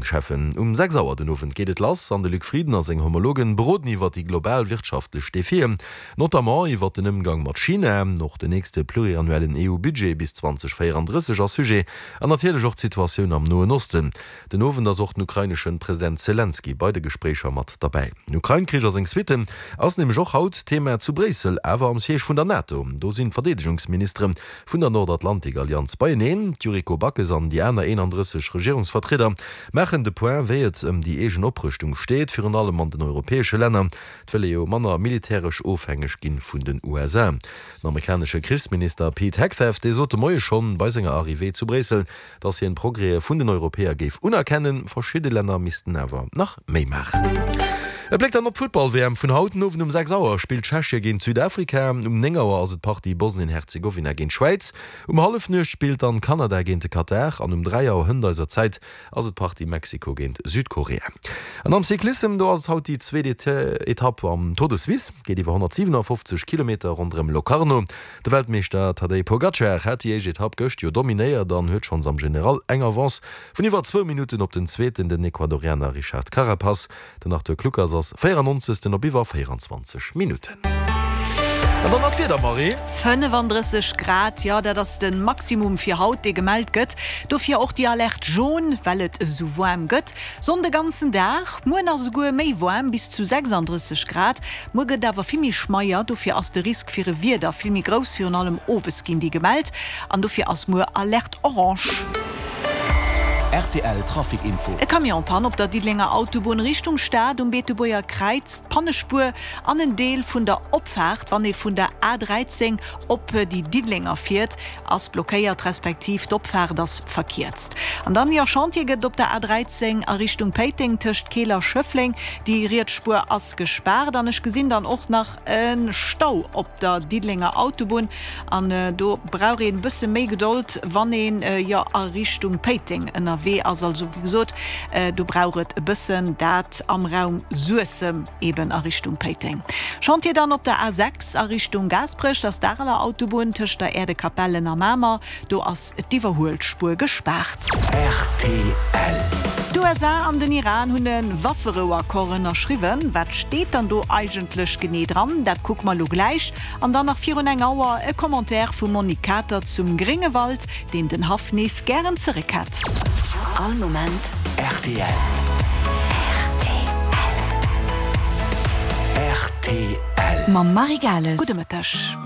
Regierungscheffen. Um 6 Auer den Owend geet et lass an de Luc Frieden a seng Homologen beroden iwwer déi global wirtschaftlech Defien, notamment iwwer den Ëmgang mat China. Och den nächste pluriannuellen EU-Budget bis 2034 ass Sujet an natierlech och d'Situatioun am Noen Osten. Den Owend ass och den ukraineschen President Selenskyj bei de Gespréicher mat derbäi. Den Ukrain-Krich a seng Suitten ass nämlech och haut Thema zu Bréissel, awer am Siège vun der NATO. Do sinn d'Verdeedegungsministere vun der Nordatlantik-Allianz beieneen. D'Yuriko Backes an déi aner 31 Regierungsvertrieder maachen de Point, wéi et ëm déi eegen Oprëschtung steet, virun allem an den europäesche Länner. Et wëll ee jo manner militäresch ofhängeg ginn vun den USA. Den amerikanesche Krichsminister Pete Hegseth, dee sot de Moie schonn bei senger Arrivée zu Bréissel, Datt hien d'Progrèse vun den Europäer géif unerkennen, verschidde Länner missten awer nach méi maachen. E Bléck dann op d'Futtball-WM vun haut. Den Owend um 6 Auer spillt Tschechie géint Südafrika, um 9 Auer ass et d'Partie Bosnien-Herzegowina géint d'Schwäiz, um Hallefnuecht spillt dann Kanada géint de Katar an um 3 Auer hënt eiser Zäit ass et d'Partie Mexiko géint Südkorea. An am Cyclissem, do ass et haut déi zweet Etapp am Tour de Suisse, geet iwwer 157 Kilometer ronderëm Locarno. De Weltmeeschter Tadej Pogacar hat déi éischt Etapp gëscht jo dominéiert an huet schonns am General eng Avance vun iwwer zwou Minutten op den Zweeten, den Ecuadorianer Richard Carapaz. Den Arthur Kluckers ass 94. Op iwwer 24 Minutten. An dann nach d'Wieder, Marie. 35 Grad, jo dat ass de Maximum fir haut, dee gemellt gëtt. Dofir och déi Alerte jaune, well et esou waarm gëtt. Sonn de ganzen Dag, muer nach esouguer méi waarm, bis zu 36 Grad. Muer gëtt et awer vill méi schmeier, dofir ass de Risk fir e Wieder vill méi grouss, virun allem owes ginn déi gemellt an dofir ass muer Alerte orange. Rtl Trafic Info. E Camion-Panne op der Diddelenger Autobunn Richtung Stad um Beetebuerger Kräiz, D'Pannespuer an en Deel vun der Opfaart, wann ee vun der A 13 op déi Diddelenger fiert, ass blockéiert, respektiv d'Opfaart ass verkierzt. An dann, jo, Chantier gëtt et op der A 13 a Richtung Péiteng tëscht Keel a Schëffleng. Déi riets Spuer ass gespaart an ech gesinn dann och nach e Stau op der Diddelenger Autobunn an do brauch een e bësse méi Gedold, wann een, jo, a Richtung Péiteng ënnerwee ass. Also wéi gesot, do brauch et e bëssen, dat am Raum Suessem. Eben a Richtung Péiteng. Chantier dann op der A6 a Richtung Gaasperech, dat ass d'Areler Autobunn tëscht der Äerdekapellen a Mamer. Do ass d'Iwwerhuelspuer gespaart. Rtl. D'USA an den Iran hunn e Wafferouaccord ënnerschriwwen. Wat steet dann do eigentlech genee dran? Dat kucke mer elo gläich. An dann nach virun eng Auer e Commentaire vum Monique Kater zum Gréngewald, deen den Haff nees gären zeréck hätt. All Moment rtl. Rtl. Mam Marie Gales. Gudde Mëtteg.